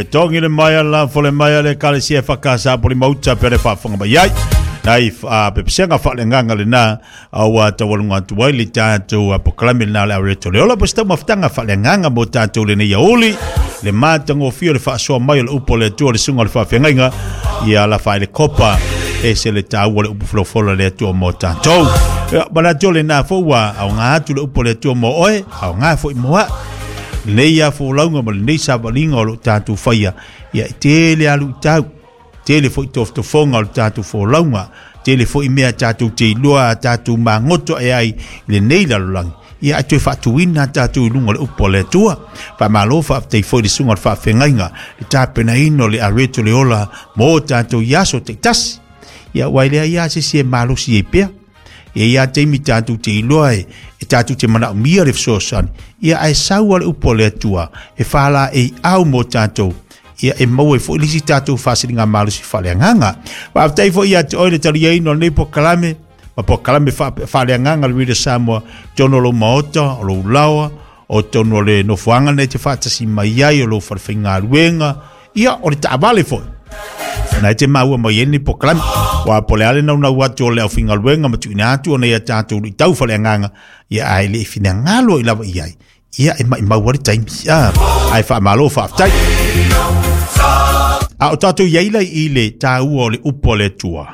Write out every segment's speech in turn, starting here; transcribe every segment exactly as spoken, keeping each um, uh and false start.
Tongi le mai ala fole mai ale kalesia whakasa poli mauta pere whawhanga mai ai. Nai a pepesenga whalenga le na aua tawalunga atu ai le tātou a pokalame na le areto le ola pesta mafutanga whalenga mo tātou le nei auli le mātangofia le whaasoa mai o le upo le atua le sunga le whawhengainga ia la whae le kopa e se le tāua le upo flofolo le atua mo tātou. Mana le nā fōua au ngā atu le upo le atua mo oe au ngā fo i moa nei a fōlaunga ma le nei savalinga o lo tātou whaia ia te le alu tau te le fo i tofotofonga o lo tātou fōlaunga te le fo i mea tātou te iloa tātou mangoto e ai le nei lalolangi ia atu e whaatuina tātou i lunga le upo le atua whamalo whaafte i fo i le sunga le whaafengainga le tāpena ino le areto le ola mō tātou iaso te tasi ia wailea ia se si e malosi e pea ia ia te imi tātou te iloa e e tātou te mana umia le fesoasoani ia ae saua le upo le atua e whala e au mō tātou ia e maua e fo ilisi tātou whasilinga malosi whaleanganga whaaftai fo ia te oe le taliaino nei po kalame ma po kalame whaleanganga le wira Samoa tono lo maota o lo ulawa o tono le nofoanga nei te whaatasi mai ai o lo wharewhainga ruenga ia o le taavale fo na te maua mai eni po kalame wa pole ale nau nau atu o le au fingaluenga ma tuina atu o nei a tātou i tau whaleanganga ia ai le whina ngalo i lava i ai ia e mai maua le taimi ia ai wha malo whaaftai a o tātou iaila i le tāua o le upo le tua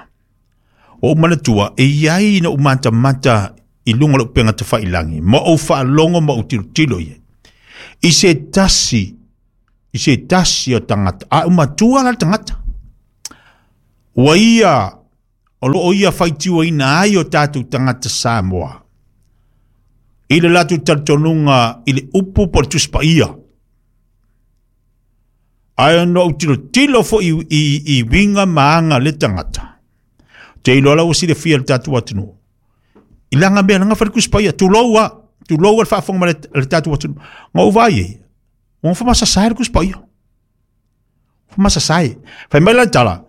o umana tua e iai na umata mata i lunga le upenga te whailangi ma o whaalongo ma o tilo tilo ia i se tasi i se tasi o tangata a umatua la tangata ua ia o loo ia faitiua ina ai o tātou tangata Samoa i le latu talitonunga i le upu po le tusipaia ai no tilo tilo fo i, i, i winga maanga le tangata te iloa lau si le fia le tātou atunuu i langa mea langa fa le tusipaia tuloua tuloua le faafoga ma le, le tātou atunuu ngau vai e ua whamasasae le tusipaia whamasasae fai mai la tala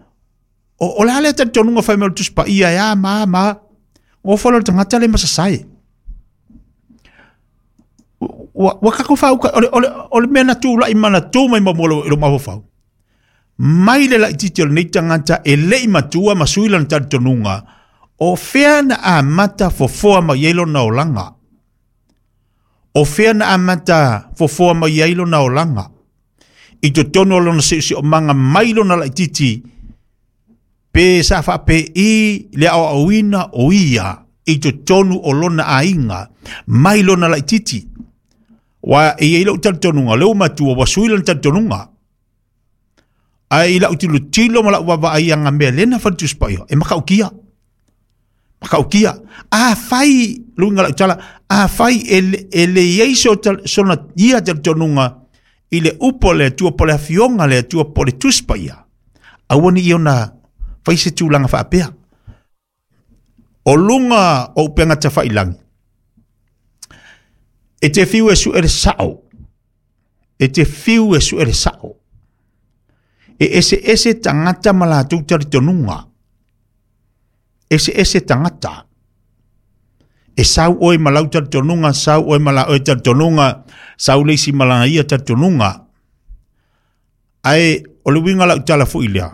o o le ale talitonunga fai mai o le tusipaia e a ma ma o folo le tangata le masasae ua ua kako fau o le o le o le mea na tū lai mana tū mai mo lo lo mafau mai le laititi o lenei tagata e le'i matua ma sui lana talitonuga o fea na amata fofoa mai ai lona olaga o fea na amata fofoa mai ai lona olaga i totonu o lona seoseomaga mai lona laititi pe sa faapei le aoaoina o ia i totonu o lona aiga mai lona laititi wa e iai lou talitonuga le ua matua ua sui lona talitonuga ai lau tilo tilo ma lau vavaai aga mea lena faletusipaia e makaukia makaukia a fai luga lau tala a fai e, e le iai so sona ia talitonuga i le upo le atua po le afioga le atua po le tusipaia aua ni iona fai se tulaga faapea o luga o upega tafailangi e te fiu e su ele sao e te fiu e su ele sao e ese ese tangata ma latou talitonuga ese ese tangata e sau oe ma lau talitonuga sau oe ma la oe talitonuga sau le isi ma lana ia talitonuga ae o le uiga lau tala fo'i lea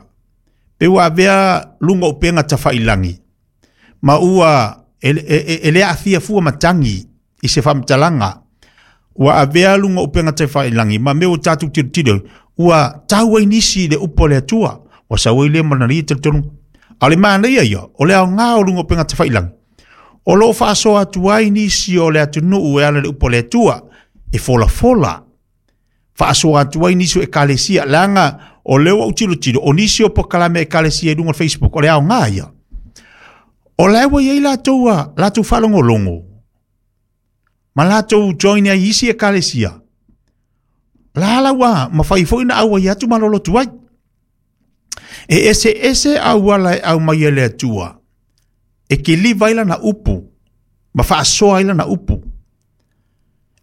pe ua avea luga o upega tafailangi ma ua e, e, e, e le aafia fua matagi i se faamatalaga ua avea luga o upega tafailangi ma mea ua tatou tilotilo ua tau ai nisi le upo le atua ua sau ai lea ma lana ia talitonuga a o le manaia ia o le aogā o luga o upega tafailangi o loo faasoa atu ai nisi o le atunuu e ala le upo le atua e folafola faasoa atu ai nisi o ekalesia leaga o lea ua ou tilotilo o nisi o pokalame ekalesia i luga o le Facebook o le aogā ia o lae ua iai latou a latou faalogologo ma latou join ai isi ekalesia la la ua mafai fo'i na auai atu ma lolotu ai e ese ese auala e au mai e le atua e kiliva ai lana upu ma faasoa ai lana upu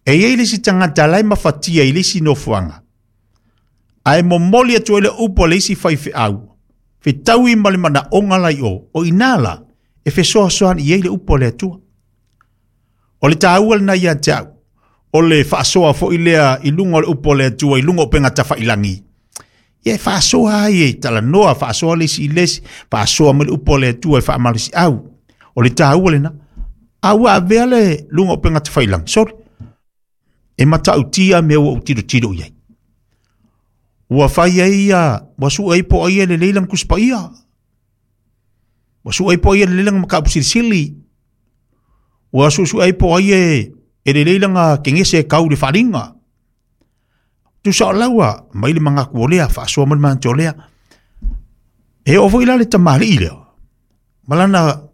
e iai le isi tagata lae mafatia i le isi nofoaga ae momoli atu ai le upu a le isi faifeau fetaui ma le manaoga lai o o inā la e fesoasoani i ai le upu a le atua o le tāua lena ia te au o le faasoa fo'i lea i luga o le upu o le atua i luga o upega tafailangi Ia e faasoa ai e talanoa, faasoa le isi i le isi, faasoa ma le upu a le Atua e faamalosiau. O le taua lena. A ua avea le luga o upega tafailagi, sole. E matautia mea ua ou tilotilo i ai. Ua fai ai ia, ua sue ai po o ai e lelei lana Tusi Paia. Ua sue ai po o ai e lelei lana mataupu silisili. Ua suesue ai po o ai e, e lelei lana kegese e kau i le faaaliga. Tusa o laua, mai le manatu o lea, faasoa mai le manatu o lea. E oo foi la le tamalii lea, ma lana,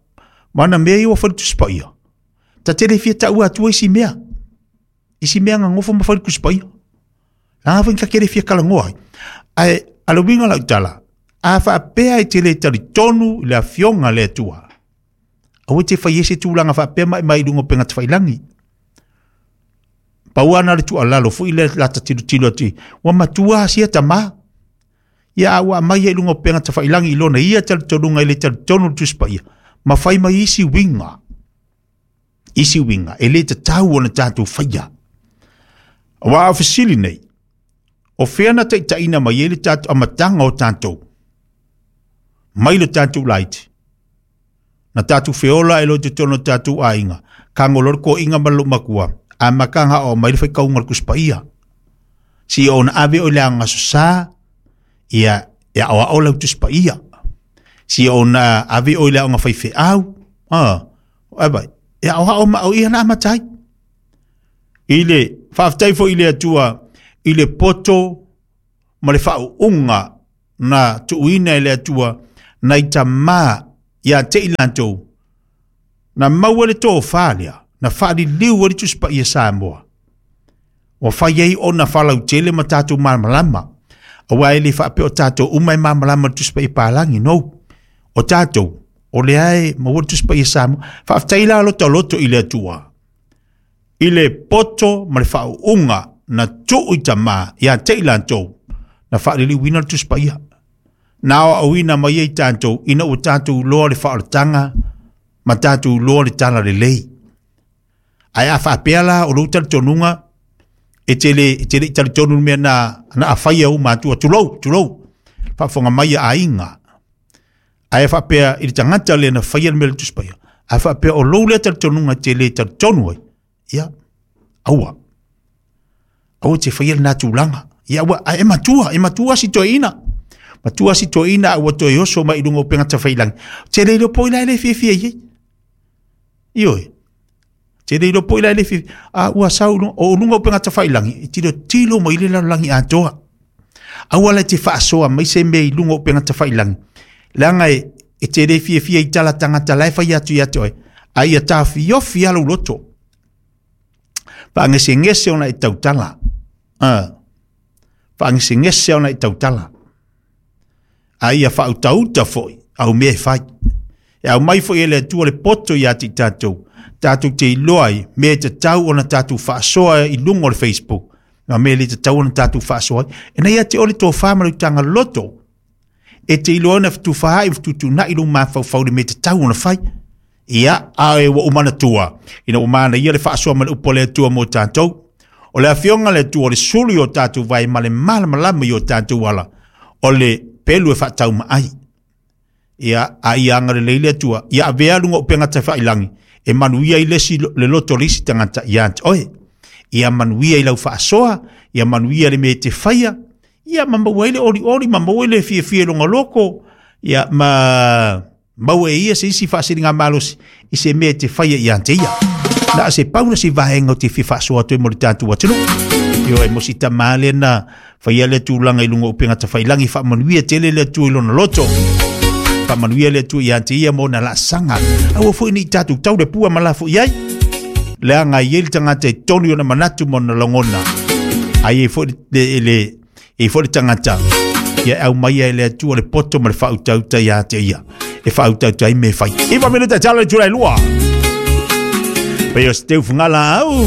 ma lana mea ia ua fai i le Tusi Paia. Ta te le fia taua atua isi mea. Isi mea na nofo ma fai i le Tusi Paia. Leaga foi ta te le fia talanoa ai. Ae a le uiga o lau tala, a faapea e te le talitonu i le Afioga a le Atua, aua e te fai ai se tulaga faapea ma e mai i luga o upega tafailagi. Pau lava na o le tuualalo foi lea lata tilotilo atu i, ua matua lava sia tama. Ia a ua aumai ai i luga o upega tafailagi i lona ia talitonuga e le talitonu i le Tusi Paia, ma fai mai isi uiga, isi uiga e le tatau ona tatou faia. Aua a o fesili nei, o fea na taitaiina mai ai le tatou amataga o tatou mai le tatou laiti? Na tatou feola e lo totonu o tatou aiga, kago loa le toaiga ma le loomatua, amataga aoao mai le faitauga o le Tusi Paia. Seia ona ave oe i le Aoga Aso Sa, ia e aoao lau Tusi Paia. Seia ona ave oe i le aoga faifeau, a, ai vai, e aoao ma o ia na amata ai. I le faafetai foi i le Atua i le poto ma le faauuga na tuuina e le Atua nai tamā ia te i latou na maua le tofa lea, na faaliliu ai le Tusi Paia Samoa. Ua fai ai ona faalautele ma tatou malamalama. Aua e le faapea o tatou uma e malamalama i le Tusi Paia Palagi, no. O tatou, o lea e maua le Tusi Paia Samoa. Faafetai la loto loto i le Atua i le poto ma le faauuga na tuu i tamā ia te i latou na faaliliuina le Tusi Paia. Na aoaoina mai ai tatou ina ua tatou iloa le faaolataga ma tatou iloa le talalelei. Ae a faapea la o lou talitonuga e te le, e te le i talitonu i le mea na, na afaia uma atua, tulou, tulou, faafofoga mai a aiga. Ae faapea i le tagata lea na faia le mea o le Tusi Paia, a faapea o lou lea talitonuga e te le talitonu ai, ia, aua. Aua te faia lena tulaga. Ia aua, ae matua, e matua si toeaina. Matua si toeaina a ua toe oso mai i luga o upega tafailagi. Te le iloa po i la e le fiafia i ai. Ioe. Te le iloa po i la e le fiafia. A ua sau o luga o upega tafailagi, e tilotilo mai le lalolagi atoa. Aua la e te faasoa mai se mea i luga o upega tafailagi. Leaga e, e te le fiafia i tala tagata la e fai atu ia te oe. A ia tafiofi lava lou loto. Faagesegese ona e tautala. Ah. Faagesegese ona e tautala. A ia faautauta foi au mea e fai. E aumai foi e le Atua le poto ia te i tatou, tatou te iloa ai mea e tatau ona tatou faasoa i luga o le Facebook, ma mea e le tatau ona tatou faasoa ai. E na ia te oe le tofa ma le utaga loto, e te iloa ona fetufaai ma fetuutuunai lou mafaufau i le mea e tatau ona fai. Ia, ae ua ou manatua, ina ua manaia le faasoa ma le upu a le Atua mo tatou. O le Afioga a le Atua o le sulu i o tatou vae ma le malamalama i o tatou ala, o le pelu e faataumaai. Ia, a ia agalelei le Atua, ia avea luga o upega tafailagi, e manuia ai le isi, le loto o le isi tagata ia te oe. Ia manuia i lau faasoa, ia manuia le mea e te faia, ia ma maua ai le olioli, ma maua ai le fiafia i lona loko, ia ma maua e ia se isi faasiligamalosi i se mea e te faia ia te ia. Na o se pau na se vaega o te fia faasoa atu ai mo le tatou atunuu. Ioe, mo si tamā lea na faia lea tulaga i luga o upega tafailagi, faamanuia tele le Atua i lona loto. Faamanuia le Atua ia te ia mo ona laasaga. Aua foi ne i tatou tau le pua ma lafo i ai. Leaga e i ai le tagata e tonu i ona manatu ma ona lagona. A i ai foi le, le, e i ai foi le tagata ia e aumaia e le Atua le poto ma le faautauta ia te ia e faautauta ai mea e fai. Iva minute tala le itula e lua. Pei o se teu fugala au.